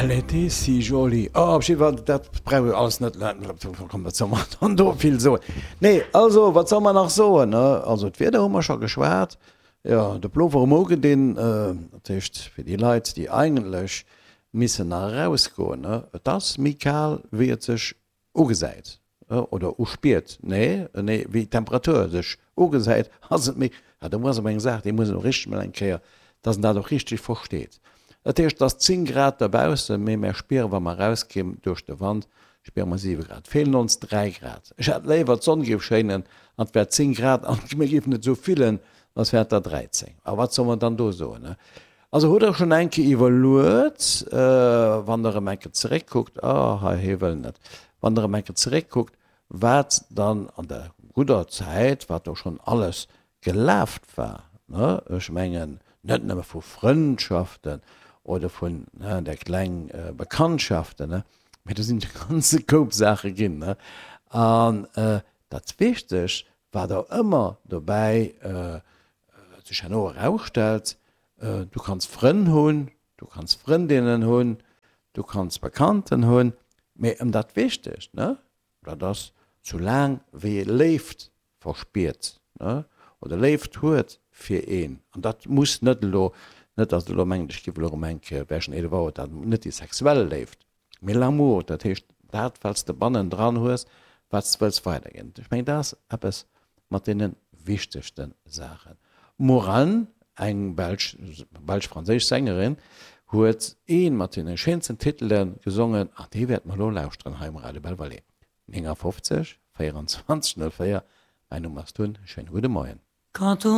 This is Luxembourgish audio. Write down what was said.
Elle était si jolie. Oh, op jiddwer Fall, dat brauch ech alles net. Komm, wat soll mer dann do vill soen? Nee, also, wat soll mer nach soen, ne? Also, d'Wieder hu mer scho geschwat. Jo, de Plover um ugedinn. Dat heescht, fir déi Leit, déi eigentlech missen nach erausgoen, ne, et ass méi kal, wéi et sech ugesäit oder uspiert, nee, nee, wéi d'Temperatur sech ugesäit, ass et méi, ah, do ass awer eng Saach, déi muss een och richteg mol eng Kéier, dass een dat och richteg versteet. Dat heescht, et ass 10 Grad dobaussen, mee mär spieren, wa mer erausginn, duerch de Wand, spiere mer 7 Grad. Et feelen ons 3 Grad. Ech hätt léiwer, d'Sonn géif schéinen an et wär 10 Grad an mir géifen et esou fillen, als wär et der 13. A wat soll mer dann do soen, ne? Also hutt der schonn eng Kéier iwwerluet, wann der erëm eng Kéier zeréckkuckt, oh hei, hie wëll net, wann der erëm eng Kéier zeréckkuckt, wat dann an der gudder Zäit, wat do schonn alles gelaft war, ne, ech mengen net nëmme vu Frëndschaften oder vun, ne, där kleng Bekanntschaften, ne, mä do sinn e ganze Koup Saache ginn, ne. An dat Wichtegt, wat och ëmmer dobäi sech herno erausstellt, Du kanns Frënn hunn, du kanns Frëndinnen hunn, du kanns Bekannten hunn, mee ëm dat Wichtegt, ne, dat ass, soulaang wéi ee Léift verspiert, ne, oder Léift huet fir een, an dat muss net elo, net datt Der elo mengt, ech giff elo erëm eng Kéier wäschen, Edewauer, dat net déi sexuell Léift, Mee l'amour, dat heescht dat, wat s de bannendran hues, wat s de wëlls weiderginn. Ech mengen, dat ass eppes mat deene wichtegste Saachen. D'Maurane, eng belsch, belsch-franséisch Sängerin, huet ee mat deene schéinsten Titele gesongen an dee wäerte mer elo lauschteren hei um Radio Belval. 59 24 04, mäin Numm ass Tun, schéine gudde Moien. Quand on.